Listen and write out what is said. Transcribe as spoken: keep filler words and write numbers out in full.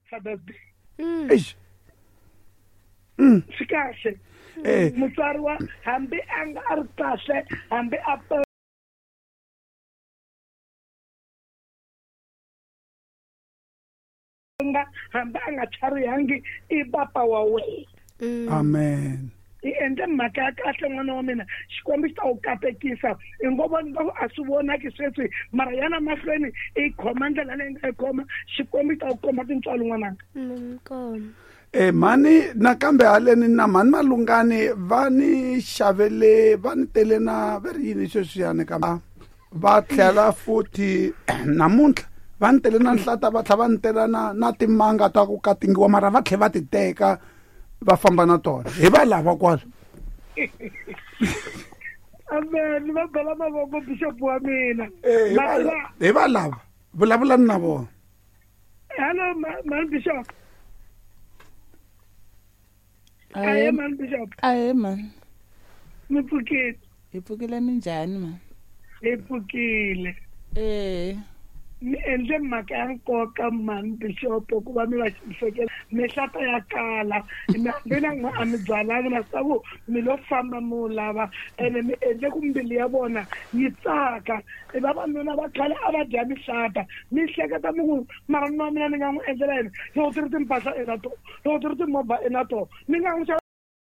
Father's Day. Mm. Eish. Mm. Swi kahle. Eh. Mutswari wa hambi a nga a ri kahle, hambi a penga, hambi a nga tlharihangi, i papa wa wena. Mm. Amen. I endle mhaka ya kahle n'wana wa mina, Xikwembu xi ta wu katekisa. I ngo vona a swi vonaki sweswi, mara yana mahlweni i khoma ndlela leyi nga yi khoma, Xikwembu xi ta wu komba tintswalo n'wananga. Mm, kona. Eh mhani nakambe haleni na mhani Malungani va ni xavele, va ni tele na va ri yini sweswiyani ka va tlhela futhi namuntlha va ni tele na nhlata, va tlhela va ni tela na na timanga ta ku katingiwa, mara va tlhela va ti teka va famba na tona. Hi va lava kwala. Amen, va bela mavoko bishop wa mina. Eh, hi va Ma- hi va lava, vulavulani na vona. Hello, ma- man bishop. Ahe man bishop. Ahe man. Mi pfukile. Hi pfukile, minjhani man? Hi pfukile. Eh. Mi endle mhaka ya nkoka man bishop ku va mi va xisekela. Mihlata ya kala. Mi hambi na n'we a mi byalanga na swi ku mi lo famba mi wu lava, ene mi endle ku mbilu ya vona yi tsaka. I vavanuna va khale a va dya mihlata, mi hleketa mi ku mara nuna wa mina ni nga n'wi endlela yini loko ti ri timpahla i na tona, loko ti ri timovha i na tona, ni nga n'wi xava.